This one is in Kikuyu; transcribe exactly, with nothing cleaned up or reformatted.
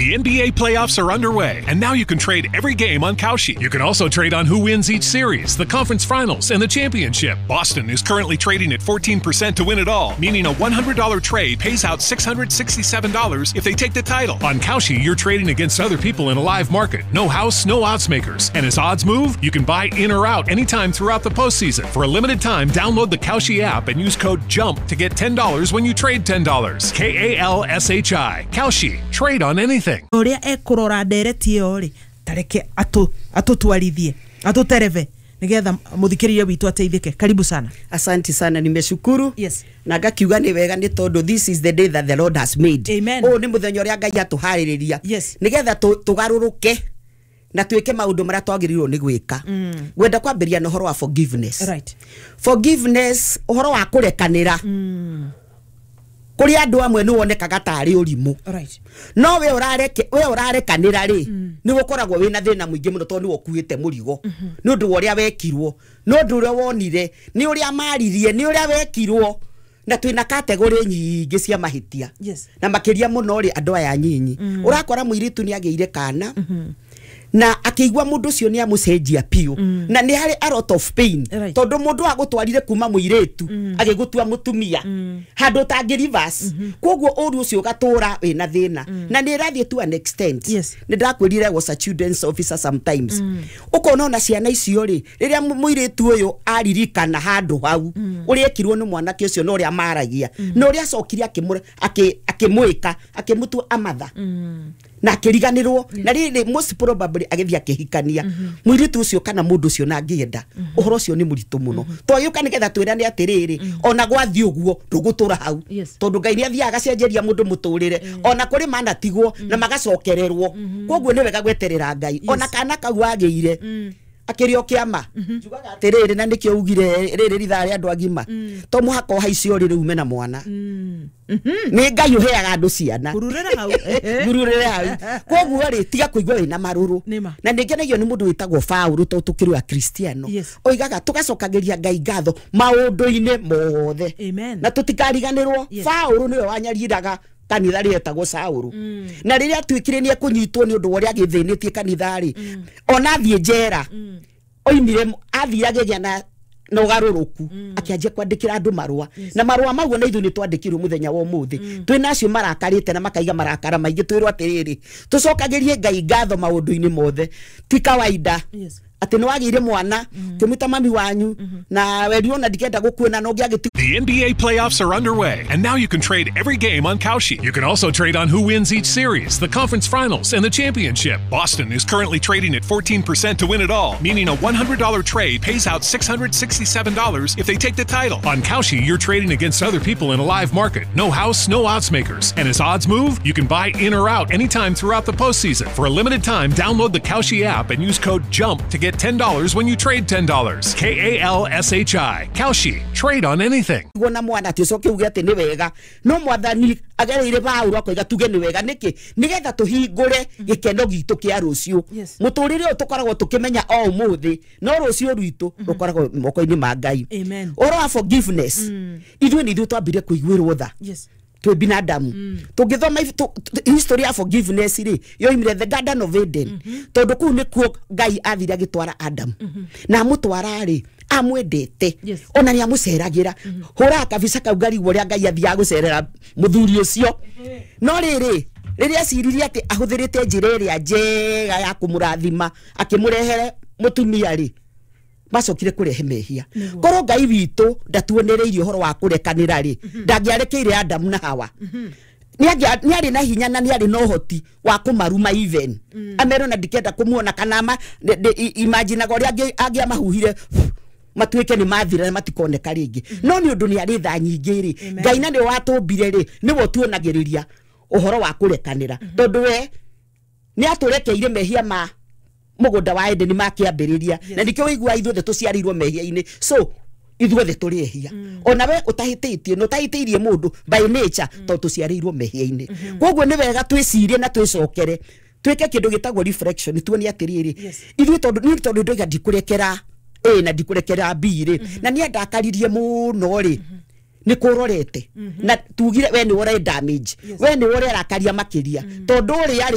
The N B A playoffs are underway, and now you can trade every game on Kalshi. You can also trade on who wins each series, the conference finals, and the championship. Boston is currently trading at fourteen percent to win it all, meaning a one hundred dollar trade pays out six hundred sixty-seven dollars if they take the title. On Kalshi, you're trading against other people in a live market. No house, no odds makers. And as odds move, you can buy in or out anytime throughout the postseason. For a limited time, download the Kalshi app and use code JUMP to get ten dollars when you trade ten dollars. K A L S H I. Kalshi. Trade on anything. Ũrĩa ekũrora ndereti ĩyo rĩ, tareke atũ atũtwarithie, atũtereve nĩgetha mũthikĩrĩria witũ ateithĩke. Karibu sana. Asante sana, nimeshukuru. Yes. Na ngakiuga nĩ wega nĩ tondũ this is the day that the Lord has made. Amen. Ũyũ nĩ mũthenya ũrĩa Ngai atũharĩrĩria Yes. nĩgetha tũ- tũgarũrũke na twĩke maũndũ marĩa twagĩrĩirwo nĩ gwĩka. Ngwenda kwambĩrĩria na ũhoro wa forgiveness. Right forgiveness, ũhoro wa kũrekanĩra, kũrĩ andũ amwe nĩ wonekaga tarĩ ũrimũ, right no we ũrareke we ũrarekanĩra rĩ, nĩ ũkoragwo wĩna thĩna mũingĩ mũno, tondũ nĩwe ũkuĩte mũrigo nĩ ũndũ wa ũrĩa wekirwo, nĩ ũndũ ũrĩa wonire, nĩ ũrĩa maririe, nĩ ũrĩa wekirwo. Na twĩna category nyingĩ cia mahĩtia. Yes. Na makĩria mũno rĩ, andũ aya nyinyi, ũrakora mũirĩtu nĩ agĩire kana na akĩigua mũndũ ũcio nĩ amũcenjia biũ, na nĩ harĩ a lot of pain, Right. tondũ mũndũ agũtwarire kuma mũirĩtu agĩgũtua mũtumia handũ ũtangĩ reverse. Koguo ũru ũcio ũgatũra wĩna thĩna na nĩ ĩrathiĩ to an extent. Yes. Nĩ ndakwĩrire was a children's officer. Sometimes ũkona ona ciana icio rĩ, rĩrĩa mũ- mũirĩtu ũyũ aririkana handũ hau ũrĩa ekirwo nĩ mwanake ũcio na ũrĩa maragia na ũrĩa acokire akĩmũ- akĩ- akĩmwĩka, akĩmũtua amatha na akĩriganĩrwo, na rĩrĩ most probably agĩthiĩ akĩhikania mũirĩtu ũcio kana mũndũ ũcio na angĩenda. Ũhoro ũcio nĩ mũritũ mũno. Twagĩũka nĩgetha twĩrane atĩrĩrĩ, ona gwathiĩ ũguo ndũgũtũra hau, Yes. tondũ Ngai nĩ athiaga agacenjeria mũndũ mũtũrĩre, ona kũrĩ manatigwo na magacokererwo. Koguo nĩ wega gweterera Ngai. Ona kana kau agĩire akĩrĩ o kĩama, njugaga atĩrĩrĩ, na nĩkĩo ugire rĩrĩ rithaa rĩa andũ agima, to mũhaka ũhaice ũrĩrĩ ume na mwana. Nĩ Ngai ũheaga andũ ciana. Ngururĩra hau. Ngururĩre hau. Koguo rĩ, tiga kũigua wĩna marũrũ. Nĩma. Na nĩ ngenagio nĩ mũndũ wĩtagwo Paũlũ, tondũ tũkĩrĩ akristiano, Yes. oigaga tũgacokagĩria Ngai ngatho maũndũ-inĩ mothe. Amen. Na tũtikariganĩrwo, Yes. Paũlũ nĩwe wanyariraga kanitha rĩetagwo Saũlũ, na rĩrĩa atuĩkire nĩ ekũnyitwo nĩ ũndũ wa ũrĩa agĩthĩnĩtie kanitha rĩ, ona athiĩ njera oimire, athire agĩgĩa na na ũgarũrũku, akĩanjia kwandĩkĩra andũ marũa, na marũa mau na ithuĩ nĩ twandĩkirwo mũthenya wa ũmũthĩ. Twĩ acio marakarĩte na makaiga marakara maingĩ, twĩrwo atĩrĩrĩ, tũcokagĩrie Ngai ngatho maũndũ-inĩ mothe. Ti kawaida Yes. atĩ nĩ wagĩire mwana kĩmwĩta mami wanyu na werirwo na ndikenda gũkuona na ũngĩ agĩti The N B A playoffs are underway, and now you can trade every game on Kalshi. You can also trade on who wins each series, the conference finals, and the championship. Boston is currently trading at fourteen percent to win it all, meaning a one hundred dollar trade pays out six hundred sixty-seven dollars if they take the title. On Kalshi, you're trading against other people in a live market. No house, no odds makers. And as odds move, you can buy in or out anytime throughout the postseason. For a limited time, download the Kalshi app and use code JUMP to get ten dollars when you trade ten dollars. K A L S H I. Kalshi. Trade on anything. Guo na mwana atĩ ũcoke uge atĩ nĩ wega, no Mwathani agereire Paũlũ akoiga tuge nĩ wega nĩkĩ? Nĩgetha tũhingũre gĩkeno gitũ kĩa rũciũ. Yes. Mũtũrĩre ũyũ tũkoragwo tũkĩmenya o ũmũthĩ, no rũciũ rwitũ rũkoragwo moko-inĩ ma Ngai. Amen. Ũhoro wa forgiveness, ithuĩ nĩ ithuĩ twambire kũiguĩrwo tha Yes. twĩ binadamu. Tũngĩthoma ibu- tũ- tũ- history ya forgiveness rĩ, yoimire the Garden of Eden, tondũ kũu nĩkuo Ngai athire agĩtwara Adam, na amũtwara rĩ, amwendete. Yes. Ona nĩ amũceragĩra. Hũraga kabica kau ngarigwo ũrĩa Ngai athiaga gũcerera mũthuri ũcio. No rĩrĩ, rĩrĩa aciririe atĩ ahũthĩrĩte njĩra ĩrĩa njega ya kũmũrathima akĩmũrehere mũtumia rĩ, macokire kũrehe mehia. Korwo Ngai witũ ndatuonereirie ũhoro wa kũrekanĩra rĩ, ndangĩarekeire Adamu na Hawa. Nĩ arĩ na hinya na nĩ arĩ na ũhoti wa kũmaruma, even amerwo na ndikenda kũmuona kana ama imaginaga ũrĩa angĩ- angĩamahuhire matuĩke nĩ mathira na matikoneka rĩngĩ. No nĩ ũndũ nĩ arĩ tha nyingĩ rĩ, Ngai na nĩwe watũmbire rĩ, nĩwe ũtuonagĩrĩria ũhoro wa kũrekanĩra, tondũ we nĩ atũrekeire mehia ma mũgũnda wa Edeni makĩambĩrĩria, na nĩkĩo wĩigua ithuothe tũciarĩirwo mehia-inĩ. So ithuothe tũrĩ ehia, ona we ũtahĩtĩtie na ũtahĩtĩirie mũndũ, by nature tondũ tũciarĩirwo mehia-inĩ. Koguo nĩ wega twĩcirie na twĩcokere, twĩke kĩndũ gĩtagwo reflection, tuone atĩrĩrĩ, Yes. ithuĩ tondũ niĩ tondũ ndoiga ndikũrekera A na ndikũrekera B rĩ, na nĩ andakaririe mũno rĩ, nĩ kũrorete na tugire we nĩ ũre damage, we nĩ ũrerakaria makĩria tondũ ũrĩa rĩ.